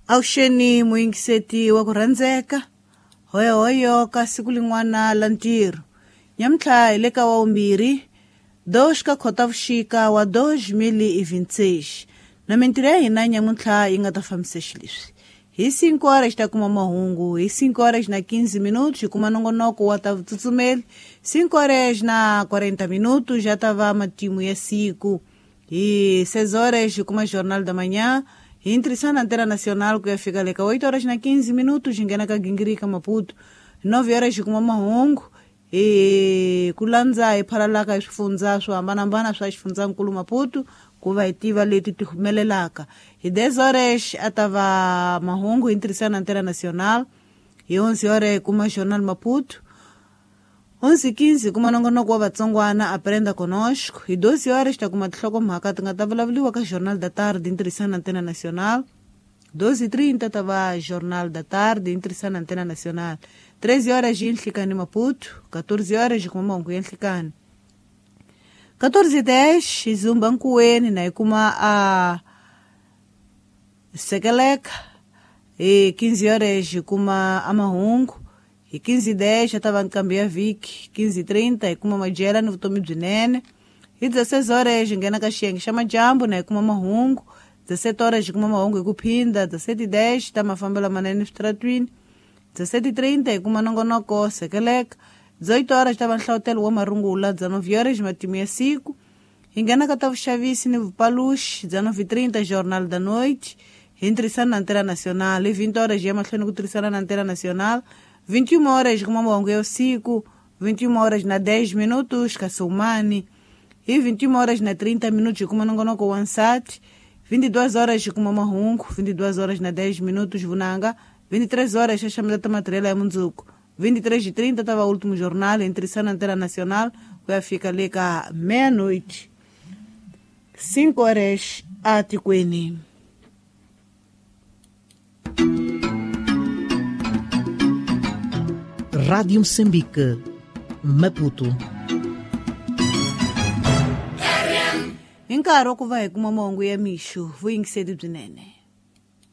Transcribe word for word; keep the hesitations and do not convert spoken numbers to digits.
Avuxeni muyingiseti wa ku rhandzeka hoyohoyo ka siku lin'wana la ntirho nyamuntlha hi le ka wa vumbirhi dois ka Khotavuxika wa dois mil e vinte e seis na mintirho ya hina nyamuntlha yi nga ta fambisa xileswi hi cinco horas ta kuma mahungu hi cinco horas na quinze minutos hi kuma nongonoko wa ta vutsutsumeli cinco horas na quarenta minutos já ta va matimu ya siku hi seis horas hi kuma Jornal da Manhã hi intrisa na Antena Nacional ku ya fika le ka oito horas na quinze minutos hi nghena ka Gingirika Maputo nove horas hi kuma mahungu hi ku landza hi phalalaka hi swifundza swo hambanahambana swa xifundzankulu Maputo ku va hi tiva leti ti humelelaka hi dez horas a ta va mahungu hi ntirhisano na Antena Nacional hi onze horas hi kuma Jornal Maputo onze quinze kuma nongonoko wa vatsongwana Aprenda Conosco hi doze horas ta kuma tinhlokomhaka ti nga ta vulavuriwa ka Jornal da Tarde hi ntirhisano na Antena Nacional doze e trinta ta va Jornal da Tarde hi ntirhisano na Antena Nacional treze horas hi nhlikani Maputo quatorze horas hi kuma mahungu ya nhlikani quatorze e dez hi zumba nkuweni na hi kuma a sekeleka hi quinze horas hi kuma a mahungu hi quinze e dez a ta va nkambi ya vhiki quinze e trinta hi kuma madyela ni vutomi byinene hi dezesseis horas hi nghena ka xiyenge xa madyambu na hi kuma mahungu dezessete horas hi kuma mahungu hi ku phinda dezessete e dez ta mafambelo manene eswitaratwini dezessete e trinta hi kuma nongonoko sekeleka dezoito horas ta va nhlawutelo wa marungula dezenove horas matimu ya siku hi nghena ka ta vuxavisi ni vupaluxi dezenove e trinta Jornal da Noite hi ntirhisano na Antena Nacional hi vinte horas hi ya mahlweni ku tirhisana na Antena Nacional vinte e uma horas kuma mahungu ya usiku vinte e uma horas na dez minutos ka Soumani hi vinte e uma horas na trinta minutos hi kuma nongonoko wa nsati vinte e duas horas hi kuma mahungu vinte e duas horas na dez minutos vunanga vinte e três horas xaxameta ta matirela ya mundzuku vinte e três e trinta tava o último jornal ntirhisano na Antena Nacional ku ya fika le ka meia-noite cinco horas atikweni. Rádio Moçambique, Maputo. Hi nkarhi wa ku va hi kuma mahungu ya mixo vuyingiseri byinene.